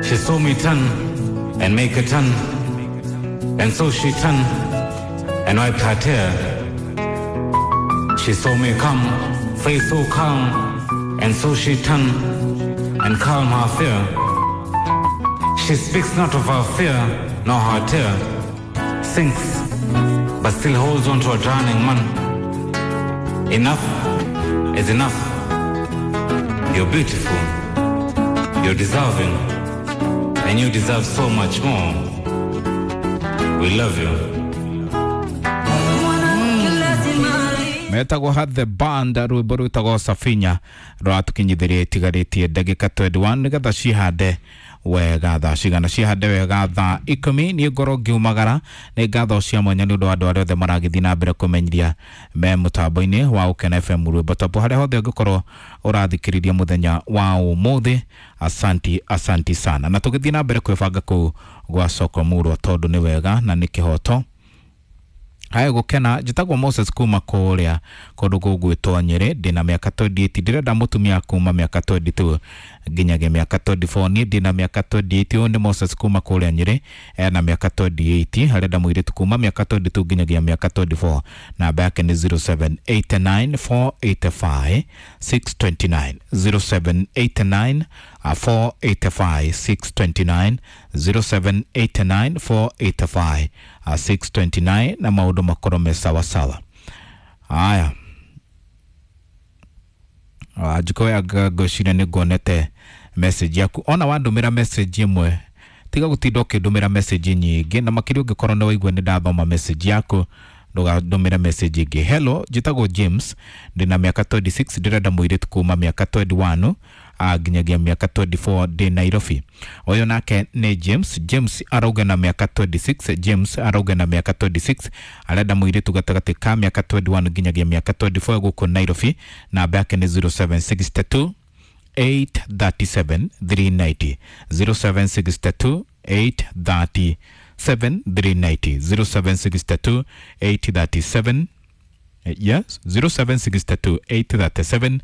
She saw me turn and make a turn, and so she turned and wiped her tear. She saw me come, face so calm, and so she turned and calm her fear. She speaks not of her fear nor her tear, sinks, but still holds on to a drowning man. Enough is enough. You're beautiful, you're deserving, and you deserve so much more. We love you. Metagwo Hat the Band, rwimbo rwitagwo Safinya rwatukinyithirie itigarĩtie ndagĩka 21 nĩgetha cihande wega thaa cigana, cihande wega thaa 10. Niĩ ngorwo ngiumagara. Nĩ ngatho cia mwanya nĩ ũndũ wa andũ arĩa othe maragĩthiĩ na mbere kũmenyithia me mũtambo-inĩ wa Ũkena FM rwĩmbo top harĩa hothe ũngĩkorwo ũrathikĩrĩria mũthenya wa ũmũthĩ. Asanti, asanti sana, na tũgĩthiĩ na mbere kwĩbanga kũu gwa soko murwa tondũ nĩ wega na nĩ kĩhoto. Haya gukena, njĩtagwo Moses kuma kũrĩa kũndũ gũgwĩtwo Nyĩrĩ, ndĩna mĩaka 28, ndĩrenda mũtumia kuma mĩaka 22 nginyagia mĩaka 24. Niĩ ndĩna mĩaka 28. Ũyũ nĩ Moses kuma kũrĩa Nyĩrĩ, ena mĩaka 28, arenda mũirĩtu kuma mĩaka 22 nginyagia mĩaka 24. Namba yake nĩ 0789 485 629, 0789 485 629, 0789 485 629, na maũndũ makorwo me sawasawa. Haya, njikoya ngwĩciria nĩ nguonete message yaku. Ona wandũmĩra message ĩmwe, tiga gũtinda ũkĩndũmĩra message nyingĩ, na makĩria ũngĩkorwo nĩ waigua nĩ ndathoma message yaku, ndũgandũmĩre message ĩngĩ. Hello, njĩtagwo James, ndĩna mĩaka 26, ndĩrenda mũirĩtu kuma mĩaka 21 nginyagia mĩaka 24, ndĩ Nairobi. Ũyũ nake nĩ James. James arauga na mĩaka 26, James arauga na mĩaka 26, arenda mũirĩtu gatagatĩ ka mĩaka 21 nginyagia mĩaka 24 gũkũ Nairobi. Namba yake nĩ 0762 837 390, 0762 837 390, 0762 837, yes, 0762 837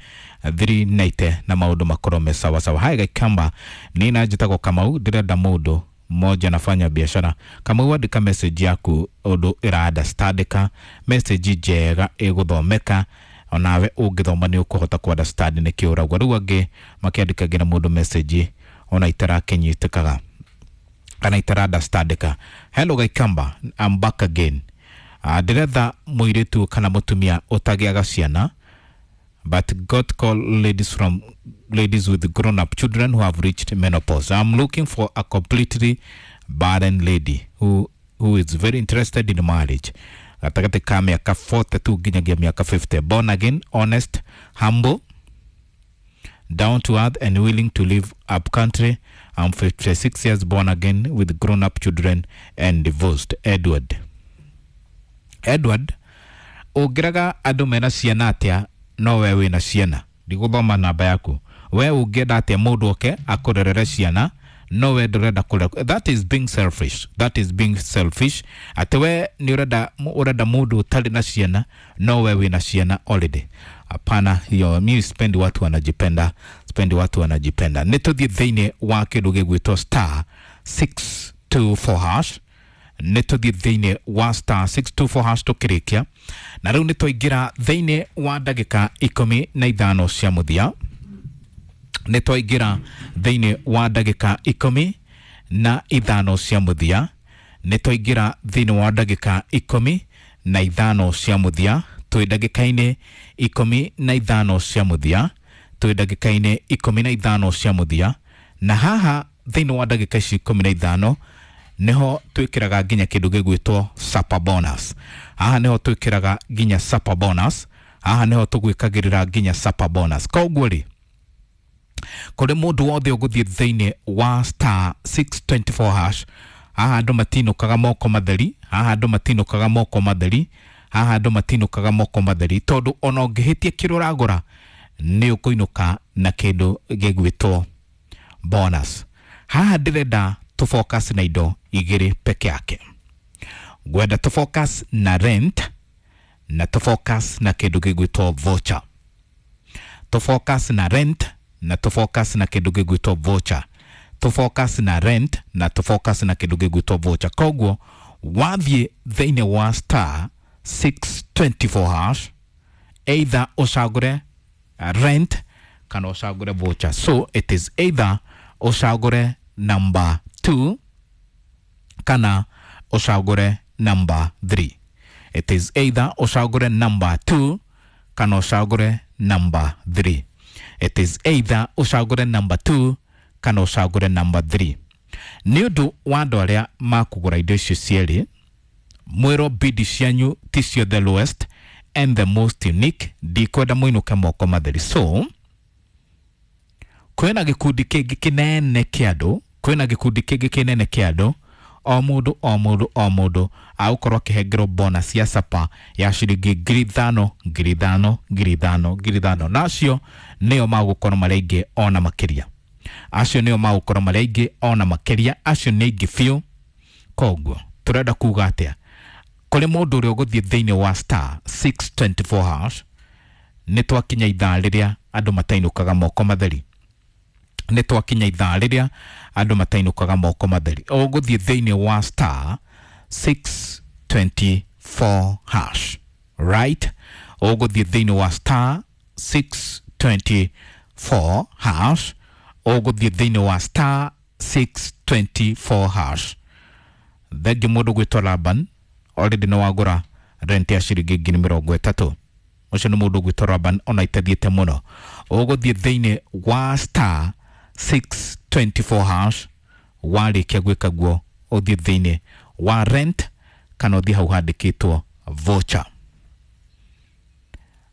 390, na maũndũ makorwo me sawa sawa. Haya Gaikamba, nina njĩtagwo Kamau, ndĩrenda mũndũ mmoja anafanya biashara. Kamau, andĩka message yaku ũndũ ĩra understandĩka, message njega ĩgũthomeka, onawe ũngĩthoma nĩ ũkũhota ku understand nĩkĩ ũrauga. Rĩu angĩ makĩandĩkagĩra mũndũ message ona itarakĩnyitĩkaga kana itara understandĩka. Hello Gaikamba, I'm back again. Ndĩretha mũirĩtu kana mũtumia ũtagĩaga ciana, but God call ladies from ladies with grown up children who have reached menopause. I'm looking for a completely barren lady who is very interested in marriage. Gatagatĩ ka mĩaka 42 nginyagia mĩaka 50. Born again, honest, humble, down to earth and willing to live up country. I'm 56 years, born again, with grown up children and divorced. Edward. Edward, ũngĩraga andũ mena ciana atĩa no we wĩna ciana? Ndigũthoma namba yaku. We ũngĩenda atĩa mũndũ oke akũrerere ciana no we ndũrenda kũrera? That is being selfish, that is being selfish. Atĩ we nĩ ũrenda mũndũ ũtarĩ na ciana no we wĩna ciana already. Hapana, hiyo mi sipendi watu wanajipenda, sipendi watu wanajipenda. Nĩ tũthiĩ thĩinĩ wa kĩndũ gĩgwĩtwo star 624 hash, nĩ tũthiĩ thĩinĩ wa star 624 hash tũkĩrĩkia. Na rĩu nĩ twaingĩra thĩinĩ wa ndagĩka 15 cia mũthia, nĩ twaingĩra thĩinĩ wa ndagĩka 15 cia mũthia, nĩ twaingĩra thĩinĩ wa ndagĩka 15 cia mũthia, twĩ ndagĩka-inĩ 15 cia mũthia, twĩ ndagĩka-inĩ 15 cia mũthia. Na haha thĩinĩ wa ndagĩka ici 15 niho twĩkĩraga nginya kĩndũ gĩgwĩtwo super bonus. Haha niho twĩkĩraga nginya super bonus, haha niho tũgwĩkagĩrĩra nginya super bonus. Koguo rĩ, kũrĩ mũndũ wothe ũgũthiĩ thĩinĩ wa star 624 hash, haha andũ matinũkaga moko matheri, haha andũ matinũkaga moko matheri, haha andũ matinũkaga moko matheri, tondũ ona ũngĩhĩtia kĩrĩa ũragũra nĩ ũkũinũka na kĩndũ gĩgwĩtwo bonus. Haha ndĩrenda tũ focus na indo igĩrĩ peke yake. Ngwenda tũ focus na rent na tũ focus na kĩndũ gĩgwĩtwo voucher. Tũ focus na rent na tũ focus na kĩndũ gĩgwĩtwo voucher. Tũ focus na rent na tũ focus na kĩndũ gĩgwĩtwo voucher. Koguo wathiĩ thĩinĩ wa star 624 hash, either ũcagũre rent kana ũcagũre voucher. So it is either ũcagũre number 2 kana ũcagũre number 3. It is either ũcagũre number 2 kana ũcagũre number 3. It is either ũcagũre number 2 kana ũcagũre number 3. Nĩ ũndũ wa andũ arĩa makũgũra indo icio cierĩ, mwĩrwo bidi cianyu ticio the lowest and the most unique, ndikwenda mũinũke moko matheri. So kwĩna gĩkundi kĩngĩ kĩnene kĩa andũ, kwĩna gĩkundi kĩngĩ kĩnene kĩa andũ, o mũndũ o mũndũ o mũndũ agũkorwo akĩhengerwo bonus ya sapa ya ciringi 5,000 5,000 5,000 5,000, na acio nĩo magũkorwo marĩ aingĩ ona makĩria. Acio nĩo magũkorwo marĩ aingĩ ona makĩria, acio nĩ aingĩ biũ. Koguo tũrenda kuga atĩa kũrĩ mũndũ ũrĩa ũgũthiĩ thĩinĩ wa star 624 hash? Nĩ twakinya ithaa rĩrĩa andũ matainũkaga moko matheri. Nĩ twakinya ithaa rĩrĩa andũ matainũkaga moko matheri. Ũgũthiĩ thĩinĩ wa star 624 hash, right? Ũgũthiĩ thĩinĩ wa star 624 hash, ũgũthiĩ thĩinĩ wa star 624 hash. Thengi mũndũ gwĩtwo Laban, already nĩ wagũra rent ya ciringi 30,000. Ũcio nĩ mũndũ gwĩtwo Laban, ona itathiĩte mũno. Ũgũthiĩ thĩinĩ wa star 624 hash, warĩkia gwĩka guo ũthiĩ thĩinĩ wa rent kana ũthiĩ hau handĩkĩtwo voucher.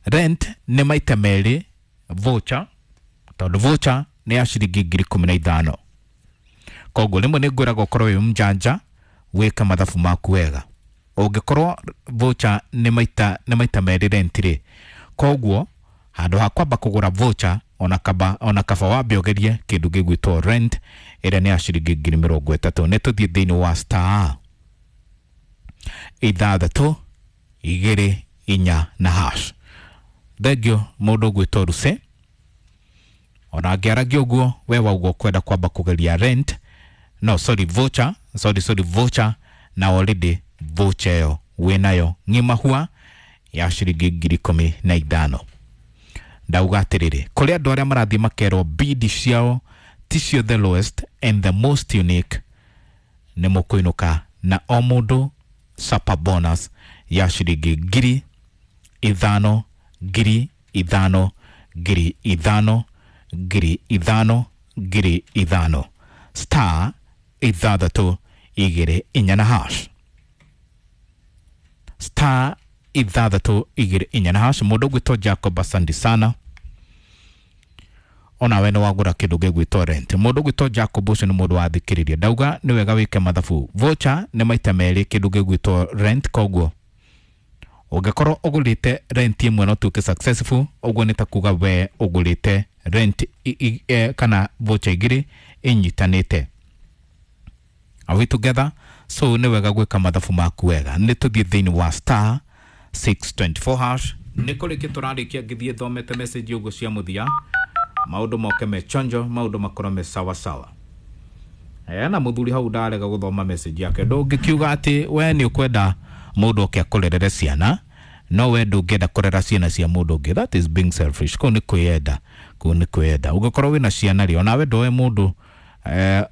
Rent nĩ maita merĩ voucher, tondũ voucher nĩ ya ciringi 15,000. Koguo rĩmwe nĩ ngwĩraga ũkorwo wĩ mjanja, wĩke mathabu maku wega. Ũngĩkorwo voucher nĩ maita merĩ rent rĩ, koguo handũ ha kwamba kũgũra voucher, ona kaba wambe ũgerie kĩndũ gĩgwĩtwo rent ĩrĩa nĩ ya ciringi 30,000. Nĩ tũthiĩ thĩinĩ wa star 624 na hash. Thengio mũndũ ũgwĩtwo Ruse. Ona angĩaragia ũguo, we wauga ũkwenda kwamba kũgeria rent, no sorry, voucher, sorry, sorry, voucher, na already voucher ĩyo wĩnayo ng'ima hua ya ciringi 15,000. Ndauga atĩrĩrĩ, kũrĩ andũ arĩa marathiĩ makerwo bidi ciao ticio the lowest and the most unique, nĩ mũkũinũka na o mũndũ super bonus ya ciringi 5,000 5,000 5,000 5,000 5,000. Star 624 na hash, star 624 na hash. Mũndũ ũgwĩtwo Jacob, asante sana, onawe nĩ wagũra kĩndũ gĩgwĩtwo rent. Mũndũ ũgwĩtwo Jacob, ũcio nĩ mũndũ wathikĩrĩria. Ndauga nĩ wega wĩke mathabu. Voucher nĩ maita merĩ kĩndũ gĩgwĩtwo rent, koguo ũngĩkorwo ũgũrĩte rent ĩmwe no tuĩke successful, ũguo nĩ ta kuga we ũgũrĩte rent kana voucher igĩrĩ inyitanĩte. Are we together? So nĩ wega gwĩka mathabu maku wega. Nĩ tũthiĩ thĩinĩ wa star 624 hash. Nĩ kũrĩkia tũrarĩkia, ngĩthiĩ thomete message ũguo cia mũthia, maũndũ moke me chonjo, maũndũ makorwo me sawa sawa. Na mũthuri hau ndarega gũthoma message yake. Ndũngĩkiuga atĩ we nĩ ũkwenda mũndũ oke akũrerere ciana, no we ndũngĩenda kũrera ciana cia mũndũ ũngĩ. That is being selfish. Kũu nĩ kwĩyenda, kũu nĩ kwĩyenda. Ũngĩkorwo wĩna ciana rĩ, onawe ndoe mũndũ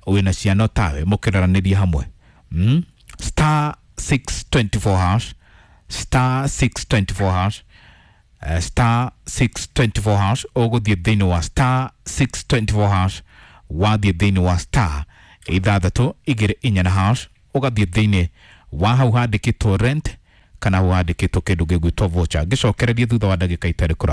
wĩna ciana tawe mũkĩreranĩrie hamwe. Star 624 hash, star 624 hash, star 624 hash. Ũgũthiĩ thĩinĩ wa star 624 hash, wathiĩ thĩinĩ wa star 624 na hash, ũgathiĩ thĩinĩ wa hau handĩkĩtwo rent kana hau handĩkĩtwo kĩndũ gĩgwĩtwo voucher. Ngĩcokererie thutha wa ndagĩka itarĩ kũra.